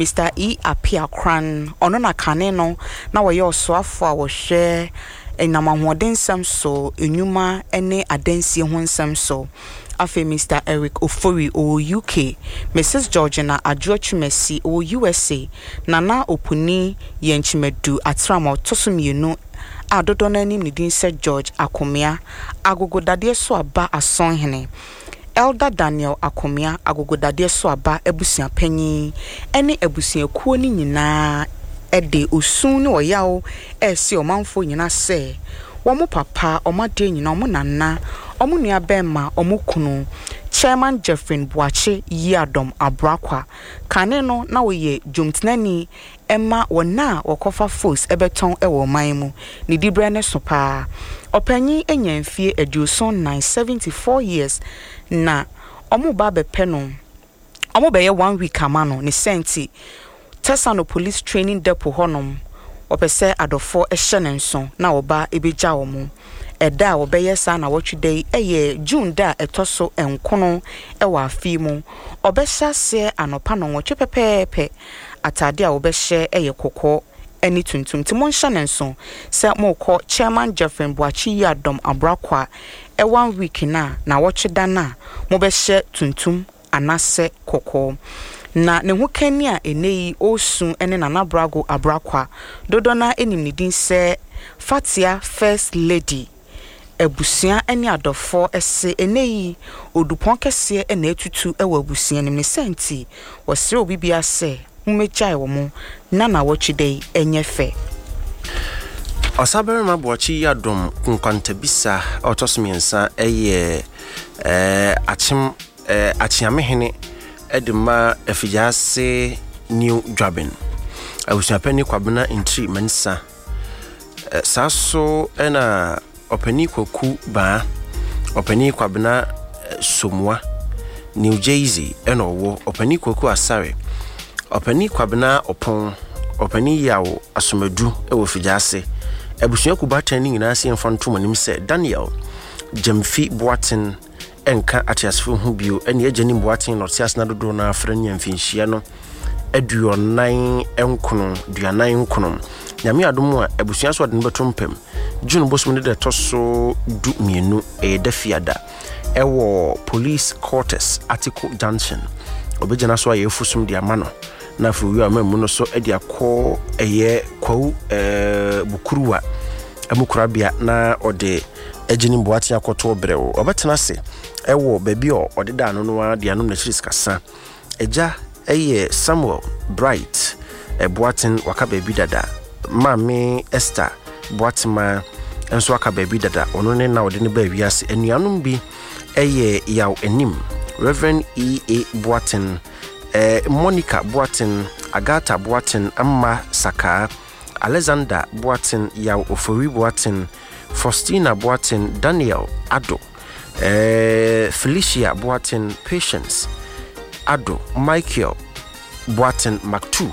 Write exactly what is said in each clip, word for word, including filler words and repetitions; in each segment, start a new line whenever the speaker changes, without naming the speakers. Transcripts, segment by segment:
Mister E. Appiah-Kuran, ɔno na kane no na wɔyɛ ɔsoafo a wɔhwɛ ɛnam ahoɔden nsɛm so, nnwuma ne adansie ho nsɛm so. Afei Mister Eric Ofori, ɔwɔ U K, Missus Georgina Adwoa Twumasi, ɔwɔ U S A, Nana Opuni Yɛnkyimadu Atram a ɔtɔ so mmienu a dodoɔ no anim ne din sɛ George Akomea, Agogodadeɛ so aba asɔnhene, Elder Daniel Akomea, Agogodadeɛ so aba abusuapanyin ne abusuakuo no nyinaa de osu ne ɔyaw ɛresi ɔmanfoɔ nyinaa sɛ wɔn papa, wɔn adeɛ nyinaa, wɔn nana, wɔn nua bɛrima, wɔn kunu, Chairman Jeffrey Boakye Yiadom Abuakwa, kane no na wɔyɛ dwomtenani ɛma wɔn a wɔkɔfa fos ɛbɛtɔn ɛwɔ ɔman mu ne diberɛ ne so paa. Ɔpanyin anya mfie aduoson nan, seventy-four years, na wɔn ba abɛpɛ no, wɔn bɛyɛ one week ama no ne sɛnti Tesano Police Training Depot hɔnom. Wɔpɛ sɛ adɔfoɔ hyɛ ne nso na ɔba ebɛgya wɔn. Ɛda a wɔbɛyɛ saa na wɔtwe da yi ɛyɛ June da a ɛtɔ so nkono ɛwɔ afe mu. Ɔbɛhyɛ aseɛ anɔpa nɔnwɔtwe pɛpɛɛpɛ. Ataade a wɔbɛhyɛ ɛyɛ kɔkɔɔ ɛne tuntum, nti monhyɛ ne nso sɛ mokɔ Chairman Jeffrey Boakye Yiadom Abuakwa ɛ one week na na wɔtwe da no a mobɛhyɛ tuntum anaasɛ kɔkɔɔ. Na ne ho kani a ɛnɛ yi ɔresu ne Nana Brago Abuakwa, dodoɔ no anim ne din sɛ Fatia First Lady. Abusua ne adɔfoɔ ɛse ɛnɛ yi odupɔn kɛseɛ na atutu wɔ abusua no mu ne sɛ nti wɔsrɛ obi bia sɛ mommɛgyae wɔ mo na nawɔtwe da yi ɛnyɛ fɛ.
Ɔsabarima Boakye Yiadom Nkwantabisa a ɔtɔ so mmiɛnsa ɛyɛ ɛɛ akyem ɛɛ akyeamehene ɛde ma Afigyaase New Dwabin, abusuapɛni Kwabena Ntiri Mansa. Ɛ saa so ɛna ɔpanin Kwaku Baa, ɔpanin Kwabena Somua, New Jersey ɛna ɔwɔ, ɔpanin Kwaku Asare, ɔpanin Kwabena Ɔpɔn, ɔpanin Yaw Asomadu ɛwɔ Figyase. Abusua kubatan no nyinaa sɛ yɛmfa ntom anim sɛ Daniel Gyamfi Boaten ɛnka ateasefo ho bio. Ɛne agya nim Boaten na ɔte ase na dodoɔ no afrɛ no mfinhyia no aduɔnan nkono duanan nkono. Nyame adom a, abusua so ɔde no bɛto mpam June bosom no da ɛtɔ so du mmienu, ɛyɛ da fiada, ɛwɔ Police Quarters, Article Junction. Ɔbɛgyina so ayɛ afusom de ama no na afei owie a ɔma mu no so de akɔ ɛyɛ Kwawu ɛɛ Bukuruwa ɛmu korabea na ɔde agye ne Boaten akɔto brɛw. Ɔbɛtena ase ɛwɔ baabi a ɔde da ano no ara de anom n'akyiri sikasa. Agya ɛyɛ Samuel Bright Ɛboaten, waka baabi dada. Maame Esther Boatema nso aka baabi dada. Ɔno ne na ɔde no baa wiase. Anuanom bi ɛyɛ Yaw Anim, Reverend E A Boaten, eh, Monica Boaten, Agatha Boaten, Amma Sakaa, Alexander Boaten, Yaw Ofori Boaten, Faustina Boaten, Daniel Ado, eh, Felicia Boaten, Patience Ado, Michael Boaten Mactu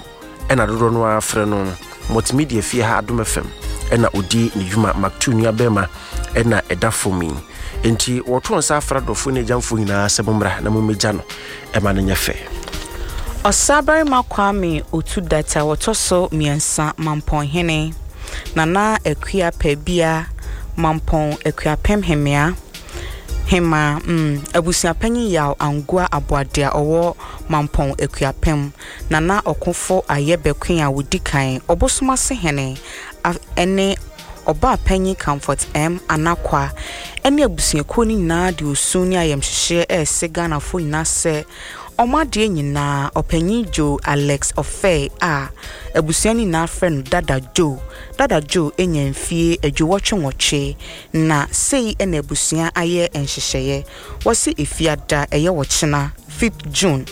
ɛna dodoɔ no ara frɛ no. Multimedia fie ha, Adom F M ɛna ɔdi ne dwuma. Mactu nua bɛrima ɛna ɛda fam yi, nti wɔto nsa afra dɔfoɔ ne agyamfoɔ nyinaa sɛ mommra na mommɛgya no ɛma no nyɛ fɛ.
Ɔsabarima Kwame Otu Data wɔtɔ so mmiɛnsa, Mampɔnhene, Nana Akua Pɛbia, Mampɔn Akuapem Hemea Hema, mm, abusuapanyin Yaw Angoa Aboade a ɔwɔ Mampɔn Akuapem, Nana Ɔkofo Ayɛ Bɛko a wodi kan, Ɔbosomase hene ɛne ɔbaa panyin Comfort M Anakwa ɛne abusuakuo no nyinaa de osu ne ayamhyehyeɛ ɛrese Ghanafoɔ nyinaa sɛ ɔmo adeɛ nyinaa, ɔpanyin Joe Alex Ɔfɛ a abusua no nyinaa frɛ no Dada Joe. Dada Joe anya mfie aduowɔtwe nwɔtwe, na sei ɛna abusua ayɛ nhyehyɛeɛ. Wɔsi Efiada, ɛyɛ wɔkyena, fifth June,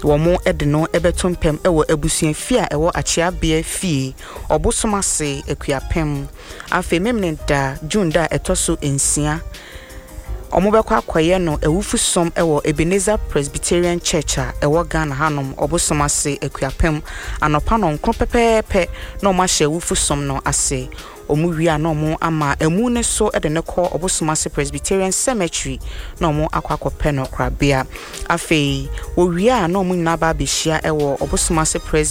wɔn de no bɛto mpam wɔ abusua fie a ɛwɔ Akyeabea fie, Ɔbosom ase, Akuapem. Afei Memene da, June da a ɛtɔ so nsia, wɔn bɛkɔ akɔyɛ no awufusom wɔ Ebenezer Presbyterian Church a ɛwɔ Ghana hanom, Ɔbosom ase, Akuapem, anɔpa nɔnkron pɛpɛɛpɛ na wɔn ahyɛ awufusom no ase. Wɔn wie a, na wɔn ama emu ne so de ne kɔ Ɔbosom ase Presbyterian Cemetery na wɔn akɔ akɔpɛ no korabea. Afei wɔwie a, na wɔn nyinaa ba abɛhyia wɔ Ɔbosom ase Pres